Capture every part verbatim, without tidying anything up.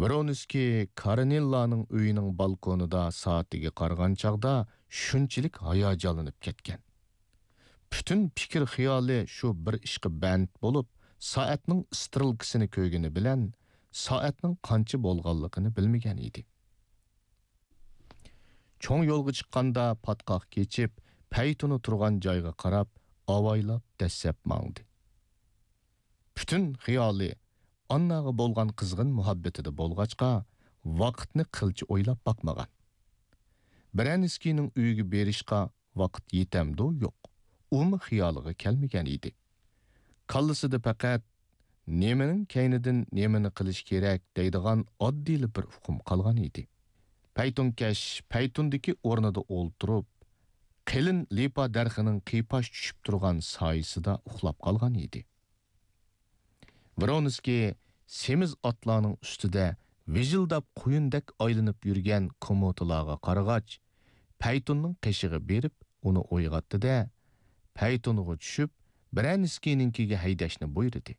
ۋرونسكىي كارېنىنلارنىڭ ئۆيىنىڭ بالكونىدا سائىتىگە قارىغان چاغدا شۇنچىلىك ھاياجانلىنىپ كەتكەن. پۈتۈن پىكىر خىيالى شۇ بىر ئىشقا بەند بولۇپ، سائەتنىڭ ئىسترېلكىسىنى كۆرگىنى بىلەن سائەتنىڭ قانچە بولغانلىقىنى بىلمىگەن ئىدى. چوڭ يولغا چىققاندا پاتقاق كېچىپ، پەيتۇنى تۇرغان جايغا قاراپ ئاۋايلاپ دەسسەپ ماڭدى. پۈتۈن خىيالى ئانناغا بولغان قىزغىن مۇھەببىتىدە بولغاچقا، ۋاقىتنى قىلچە ئويلاپ باقمىغان. برەنسكىينىڭ ئۆيىگە بېرىشقا ۋاقىت يېتەمدۇ يوق، ئۇمۇ خىيالىغا كەلمىگەن ئىدى. كاللىسىدا پەقەت نېمىنىڭ كەينىدىن نېمىنى قىلىش كېرەك دەيدىغان ئاددىيلا بىر ئۇقۇم قالغان ئىدى. پەيتۇنكەش پەيتۇندىكى ئورنىدا ئولتۇرۇپ، قېلىن لىپا دەرىخىنىڭ قىيپاش چۈشۈپ تۇرغان سايىسىدا ئۇخلاپ قالغان ئىدى. ۋرونسكىي سېمىز ئاتلارنىڭ ئۈستىدە ۋىژىلداپ قۇيۇندەك ئايلىنىپ يۈرگەن كوموتىلارغا قارىغاچ، پەيتۇننىڭ قېشىغا بېرىپ ئۇنى ئويغاتتى-دە، پەيتۇنغا چۈشۈپ، برەنسكىينىڭكىگە ھەيدەشنى بۇيرۇدى.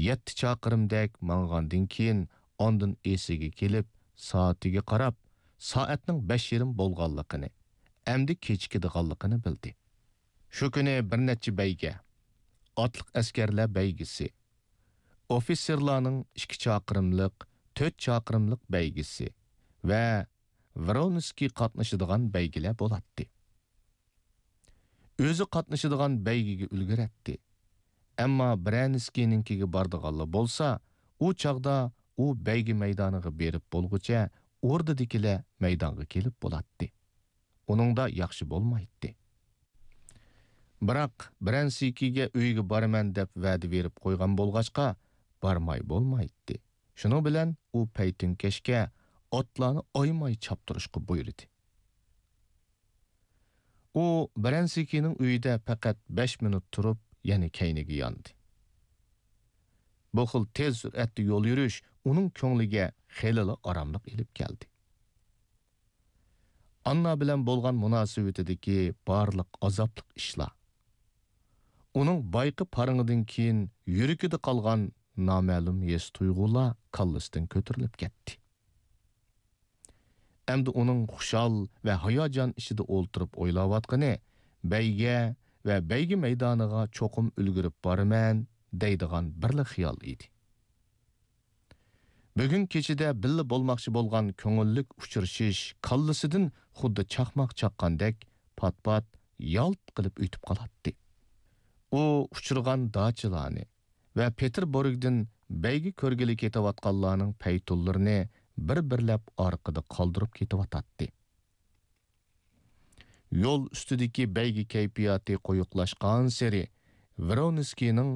يەتتە چاقىرىمدەك ماڭغاندىن كېيىن، ئاندىن ئېسىگە كېلىپ، سائىتىگە قاراپ، سائەتنىڭ بەش يېرىم بولغانلىقىنى، ئەمدى كېچىكىدىغانلىقىنى بىلدى. شۇ كۈنى بىر نەچچە بەيگە، ئاتلىق ئەسكەرلەر بەيگىسى، ئوفىتسېرلارنىڭ ئىككى چاقىرىملىق، تۆت چاقىرىملىق بەيگىسى ۋە ۋرونسكىي قاتنىشىدىغان بەيگىلەر بولاتتى. ئۆزى قاتنىشىدىغان بەيگىگە ئۈلگۈرەتتى. ئەمما برەنسكىينىڭكىگە بارىدىغانلا بولسا، ئۇ چاغدا ئۇ بەيگە مەيدانىغا بېرىپ بولغۇچە ئوردىدىكىلەر مەيدانغا كېلىپ بولاتتى. ئۇنىڭدا ياخشى بولمايتتى. بىراق، برەنسكىيگە ئۆيىگە بارىمەن دەپ ۋەدە بېرىپ قويغان بولغاچقا، بارماي بولمايتتى. شۇنىڭ بىلەن ئۇ پەيتۈنكەشكە ئاتلارنى ئايىماي چاپتۇرۇشقا بۇيرۇدى. ئۇ برەنسكىينىڭ ئۆيىدە پەقەت بەش مىنۇت تۇرۇپ، يەنە كەينىگە ياندى. بۇ خىل تېز سۈرئەتتە يول يۈرۈش ئۇنىڭ كۆڭلىگە خېلىلا ئاراملىق ئېلىپ كەلدى. ئاننا بىلەن بولغان مۇناسىۋىتىدىكى بارلىق ئازابلىق ئىشلار، ئۇنىڭ بايىقى پارىڭىدىن كېيىن يۈرىكىدە قالغان نامەلۇم ھېس-تۇيغۇلار كاللىسىدىن كۆتۈرۈلۈپ كەتتى. ئەمدى ئۇنىڭ خۇشال ۋە ھاياجان ئىچىدە ئولتۇرۇپ ئويلاۋاتقىنى، بەيگە ۋە بەيگە مەيدانىغا چوقۇم ئۈلگۈرۈپ بارىمەن دەيدىغان بىرلا خىيال ئىدى. بۈگۈن كېچىدە بىللە بولماقچى بولغان كۆڭۈللۈك ئۇچرىشىش كاللىسىدىن خۇددى چاقماق چاققاندەك پات-پات يالت قىلىپ ئۆتۈپ قالاتتى. ئۇ ئۇچرىغان داچىلارنى ۋە پېتېربۇرگدىن بەيگە كۆرگىلى كېتىۋاتقانلارنىڭ پەيتۇنلىرىنى بىر-بىرلەپ ئارقىدا قالدۇرۇپ كېتىۋاتاتتى. يول ئۈستىدىكى بەيگە كەيپىياتى قويۇقلاشقانسېرى، ۋرونسكىينىڭ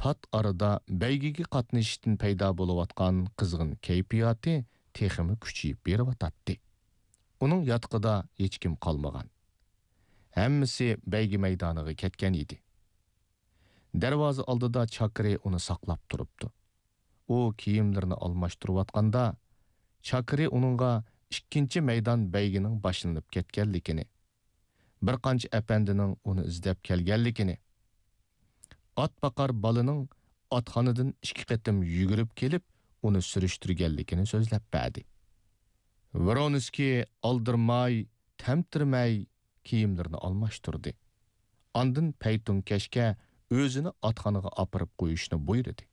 پات ئارىدا بەيگىگە قاتنىشىشتىن پەيدا بولۇۋاتقان قىزغىن كەيپىياتى تېخىمۇ كۈچىيىپ بېرىۋاتاتتى. ئۇنىڭ ياتىقىدا ھېچكىم قالمىغان. ھەممىسى بەيگە مەيدانىغا كەتكەن ئىدى. دەرۋازا ئالدىدا چاكىرى ئۇنى ساقلاپ تۇرۇپتۇ. ئۇ كىيىملىرىنى ئالماشتۇرۇۋاتقاندا، چاكىرى ئۇنىڭغا ئىككىنچى مەيدان بەيگىنىڭ باشلىنىپ كەتكەنلىكىنى، بىر قانچە ئەپەندىنىڭ ئۇنى ئىزدەپ كەلگەنلىكىنى، ئات باقار بالىنىڭ ئاتخانىدىن ئىككى قېتىم يۈگۈرۈپ كېلىپ، ئۇنى سۈرۈشتۈرگەنلىكىنى سۆزلەپ بەردى. ۋرونسكىي ئالدىرىماي، تەمتىرىمەي كىيىملىرىنى ئالماشتۇردى. ئاندىن پەيتۇنكەشكە ئۆزىنى ئاتخانىغا ئاپىرىپ قويۇشنى بۇيرۇدى.